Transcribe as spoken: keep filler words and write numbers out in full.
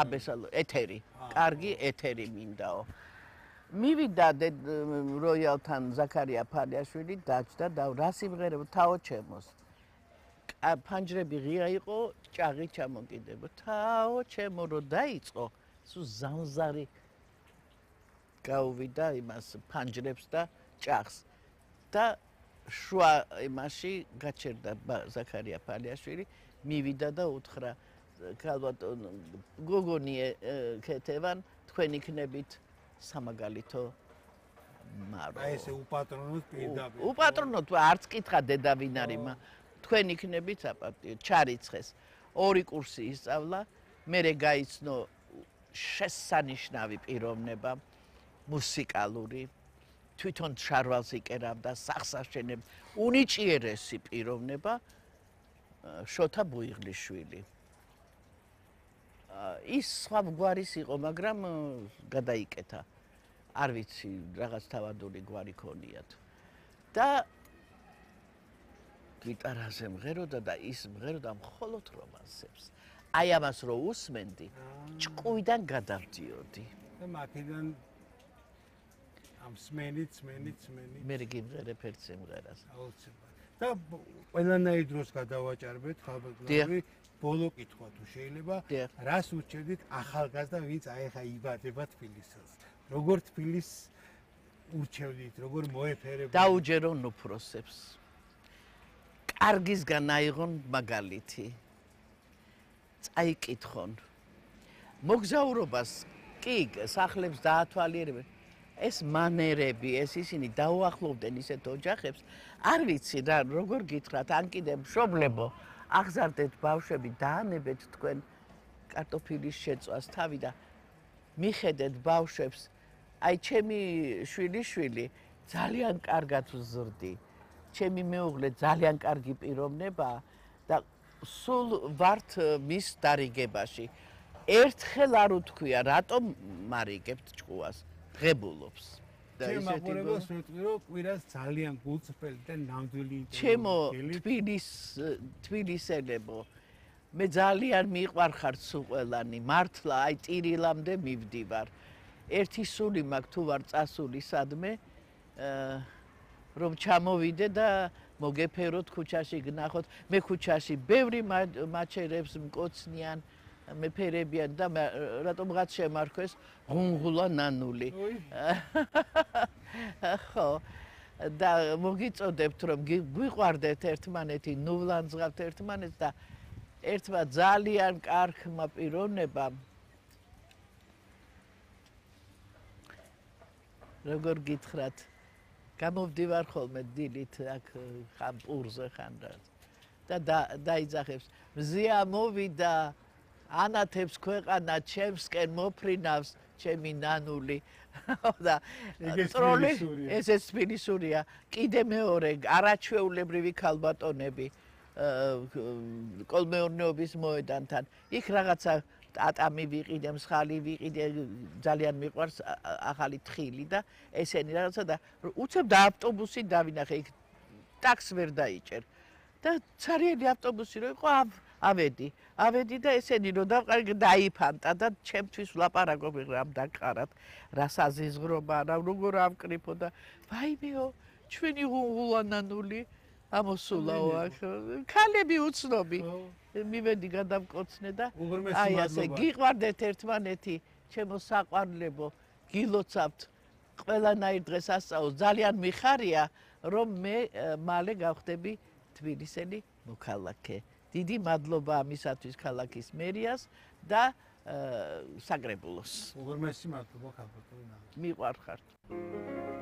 აბესალო ეთერი კარგი ეთერი მინდაო მივიდა როიალთან ზაქარია ფალიაშვილი დაჭდა და რა სიმღერებო თაო ჩემოს ფანჯრები ღია იყო ჭაღი ჩამოკიდებო თაო ჩემო რო დაიწყო სუ ზამზარი გაუვიდა იმას ფანჯრებს და ჭაღს და შუა იმაში გაჩერდა ზაქარია ფალიაშვილი მივიდა და უთხრა ქალბატონო გოგონი ქეთევან თქვენ იქნებით სამაგალითო მარო აი ესე უპატრონოთ პირდაპირ უპატრონოთ არც კითხა დედა ვინ არის თქვენ იქნებით საპატიო ჩარიცხეს ორი კურსი ისწავლა მერე გაიცნო შესანიშნავი პიროვნება მუსიკალური თვითონ შარვალს იკერავდა სახს აშენებდა უნიჭიერესი პიროვნება შოთა ბუიღლიშვილი ის სხვა გვარის იყო მაგრამ გადაიკეთა არ ვიცი რაღაც თავადული გვარი ქონიათ და გიტარაზე მღეროდა და ის მღეროდა მხოლოდ რომანსებს აი ამას რო უსმენდი ჭკუიდან გადავდიოდი და მაქედან ამ სმენით სმენით სმენით მე გიმღერებ ერთ სიმღერას აუცილებლად და ყველანაირ დროს გადავაჭარბეთ ხალბატონი ბოლო კითხვა თუ შეიძლება რას ურჩევდით ახალგაზრდა ვინც აი ხა იბადება თბილისს როგორ თბილის ურჩევდით როგორ მოეფერებოდით დაუჯერონ უფროსებს კარგისგან აიღონ მაგალითი წაიკითხონ მოგზაურობას კი სახლებს დაათვალიერებენ ეს მანერები ეს ისინი დაუახლოვდნენ ისეთ ოჯახებს არ ვიცი რა როგორ გითხრათ ან კიდე მშობლებო აღზარდეთ ბავშვები დაანებეთ თქვენ კარტოფილის შეწვას თავი და მიხედეთ ბავშვებს აი ჩემი შვილიშვილი ძალიან კარგად ვზრდი ჩემი მეუღლე ძალიან კარგი პიროვნებაა და სულ ვართ მის დარიგებაში ერთხელ არ უთქვია რატომ მარიგებთ ჭკუას ღებულობს და ისეთი მაგურებას ვიტყვი რომ კვირას ძალიან გულწრფელი და ნამდვილი ჩემო თბილის თბილისელებო მე ძალიან მიყვარხარ სუყველანი მართლა აი ტირილამდე მივდივარ ერთი სული მაქვს თუ ვარ წასული სადმე რომ ჩამოვიდე და მოგეფეროთ ქუჩაში გნახოთ მე ქუჩაში ბევრი მაჩერებს მკოცნიან მეფერებიან და რატომღაც შემარქვეს ღუნღულა ნანული ხო და მოგიწოდებთ რომ გვიყვარდეთ ერთმანეთი ნუვლანძღავთ ერთმანეთს და ერთმა ძალიან კარგმა პიროვნებამ როგორ გითხრათ გამოვდივარ ხოლმე დილით აქ ხან პურზე ხან და დაიძახებს მზია მოვიდა ანათებს ქვეყანა ჩემსკენ მოფრინავს ჩემი ნანული და ტროლი ესეც თბილისურია კიდე მეორე არაჩვეულებრივი ქალბატონები კოლმეურნეობის მოედანთან იქ რაღაცა ატამი ვიყიდე მსხალი ვიყიდე ძალიან მიყვარს ახალი თხილი და ესენი რაღაცა და უცებ და ავტობუსი დავინახე იქ ტაქსს ვერ დაიჭერ და ცარიელი ავტობუსი რო იყო ავედი ავედი და ესენი რო დავყარი დაიფანტა და ჩემთვის ვლაპარაკობ რამ დაკარათ რა საზიზღრობა რა როგორ ავკრიფო და ვაიმეო ჩვენი ღუნღულანანული ამოსულაო აქ ქალები უცნობი მივედი გადავკოცნე და აი ასე გიყვარდეთ ერთმანეთი ჩემო საყვარლებო გილოცავთ ყველანაირ დღეს ასწავლოს ძალიან მიხარია რომ მე მალე გავხდები თბილისელი მოქალაქე დიდი მადლობა ამისათვის ქალაქის მერიას და საკრებულოს უღრმესი მადლობა ქალბატონო მიყვარხართ